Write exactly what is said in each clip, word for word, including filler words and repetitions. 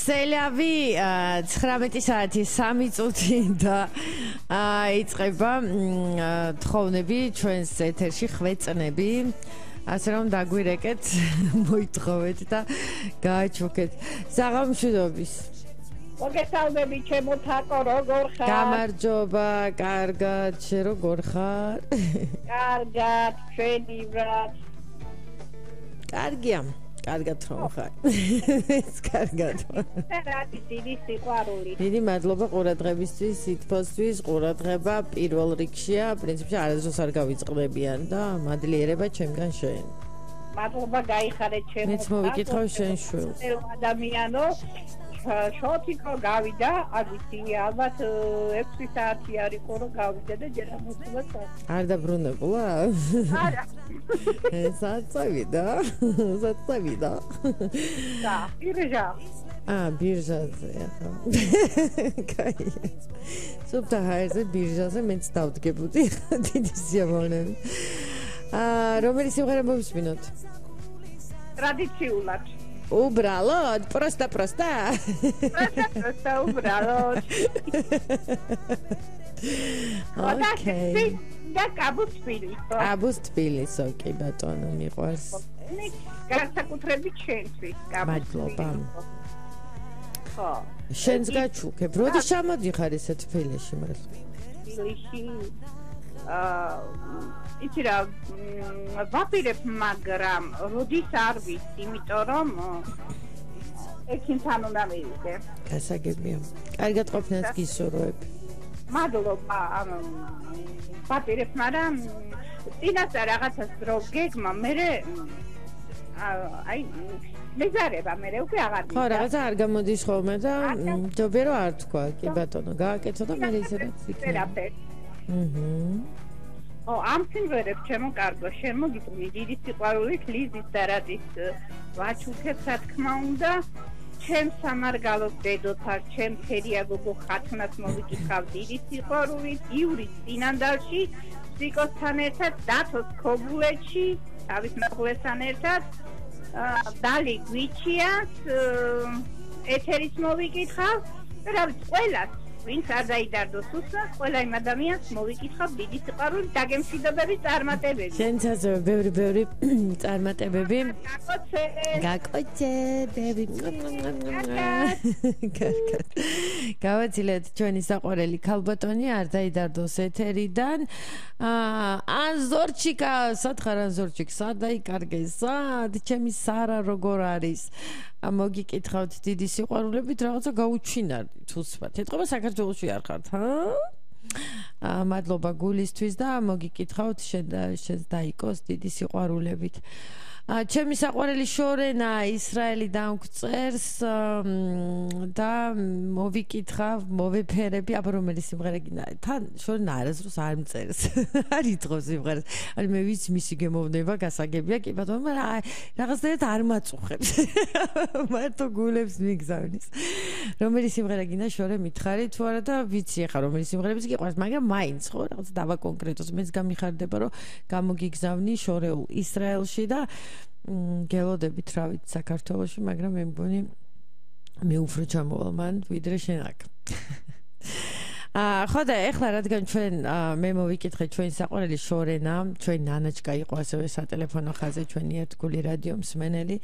სელავი ცხრამეტი საათი სამი წუთი და იწყება თხოვნები ჩვენს ეთერში ხვეწნები ასე რომ დაგვირეკეთ მოითხოვეთ და გააჩუქეთ საღამოშიდობის მოგესალმები ჩემო თაკო როგორ ხარ? გამარჯობა, კარგად, შენ როგორ ხარ? კარგად, ჩვენი ბრატ. კარგია, კარგად რომ ხარ. ეს კარგად. რადი დიდი სიყვარული. დიდი მადლობა ყურადღებისთვის, სითბოსთვის, ყურადღება პირველ რიგშია, პრინციპში არასდროს არ გავიწყდებიან და მადლიერება ჩემგან შენ. მადლობა გაიხარე ჩემო. მეც მოვიკითხავ შენ შვილს. ადამიანო შოთიკო გავიდა, აგიცი ალბათ ექვსი საათი არისო რომ გავიდა და ჯერ მოსულა. არ დაბრუნებულა? არა. ესაც წავიდა. ესაც წავიდა. და, ბირჟა. აა, ბირჟაზე ახლა. კაი. სუფთა ჰაერზე ბირჟაზე მეც დავდგებოდი დიდი სიამოვნებით. აა, რომელი სიმღერა მოვისმინოთ? ტრადიციულად. Ubralot, prosta prosta. Prosta prosta ubralot. Okay. და კაბუსტბილის. კაბუსტბილის, ოკეი, ბატონო, მიყვარს. განსაკუთრებით შენთვის, მადლობა. ხო. შენს გაჩუქებ, როდი შემოდიხარ ესე თბილისში მართლა? თბილისში აა იცი რა ვაპირებ მაგრამ როდის არ ვიცი იმიტომ რომ ექიმთან უნდა მივიდე გასაგებია კარგად ყოფნას გისურვებ მადლობა ვაპირებ მაგრამ წინასწარ რაღაცას რო გეგმა მე აი მეზარება მე უკვე აღარ ხო რაღაცა არ გამოდის ხოლმე და ჯობია რომ არ თქვა კი ბატონო გააკეთო და მე ისედაც იქნება აჰა ო ამ სიმღერებს ჩემო კარგო შენ მოგიწვი დიდი სიყვარულით ლიზის და რადის ვაჩუქებ რა თქმა უნდა ჩემ სამარგალოს დედოთარ ჩემ ფერია გოგო ხათნას მოვიკითხავ დიდი სიყვარულით ივრის წინანდალში სიკოსთან ერთად დათოს ქობულეთში თავის მეგობრებთან ერთად დალი გვიჩიას ეთერის მოვიკითხავ რა ვიცი ყველას ვინც არ დაიდარდოს უსმენს, ყველა იმ ადამიანს მოვიკითხავ დიდი სიყვარულით დაგემშვიდობების წარმატებები. შენცაზე ბევრი ბევრი წარმატებები. გაკოცებები. კარგად. გავაცილეთ ჩვენი საყვარელი ქალბატონი არ დაიდარდოს ეთერიდან. აა ზორჩიკა, სათხარ ზორჩიკ, სად დაიკარგე? სად ჩემი სარა როგორ არის? მოგიკითხავთ დიდი სიყვარულებით რაღაცა გაუჩინარდით უსმართ. ეთყობა საქართველოში არ ხართ, ჰა? აა მადლობა გულისთვის და მოგიკითხავთ შენ შენ დაიკოს დიდი სიყვარულებით. აა ჩემი საყვარელი შორენა ისრაელიდან გვწერს და მოვიკითხავ, მოვეფერები, აბა რომელი სიმღერა გინდა? თან შორენა არასდროს არ მწერს. არ ითხოვს სიმღერას. აი მე ვიცი მისი გემოვნება გასაგებია, კი ბატონო, მაგრამ რაღაცნაირად არ მაწუხებს. მარტო გულებს მიგზავნის. რომელი სიმღერა გინდა შორე მითხარი თუ არა და ვიცი ახლა რომელი სიმღერებიც გიყვარს, მაგრამ მაინც ხო რაღაც დავა კონკრეტოს მეც გამიხარდება რომ გამოგიგზავნი შორეულ ისრაელში და გელოდებით რა ვიცი საქართველოში, მაგრამ მე მგონი მე უფრო ჩამოვალ მან ვიდრე შენ აქ. აა ხო და ეხლა რადგან ჩვენ მე მოვიკითხე ჩვენი საყვარელი შორენა, ჩვენი ნანაჩკა იყო ასევე სატელეფონო ხაზზე ჩვენი ერთგული რადიო მსმენელი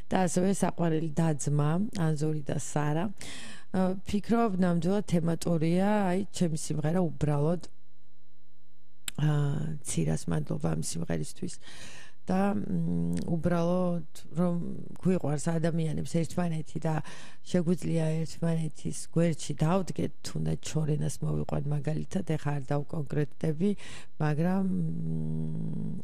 და ასევე საყვარელი და-ძმა ანზორი და სარა. ფიქრობ ნამდვილად თემატურია, აი ჩემი სიმღერა უბრალოდ აა ცირას მადლობა ამ სიმღერისთვის. და უბრალოდ რომ გვიყვარს ადამიანებს ერთმანეთი და შეგვიძლია ერთმანეთის გვერდში დავდგეთ თუნდაც შორენას მოვიყვან მაგალითად ეხა არ დავკონკრეტდები მაგრამ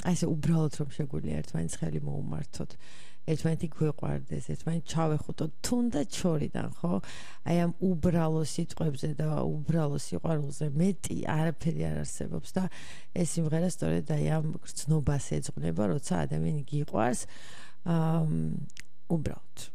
აი ესე უბრალოდ რომ შეგვიძლია ერთმანეთს ხელი მოუმართოთ ერთმანეთი გვიყვარდეს ერთმანეთი ჩავეხუტოთ თუნდაც შორიდან ხო აი ამ უბრალო სიტყვებზე და უბრალო სიყვარულზე მეტი არაფერი არ არსებობს და ეს სიმღერა სწორედ აი ამ გრძნობას ეძღვნება როცა ადამიანი გიყვარს უბრალოდ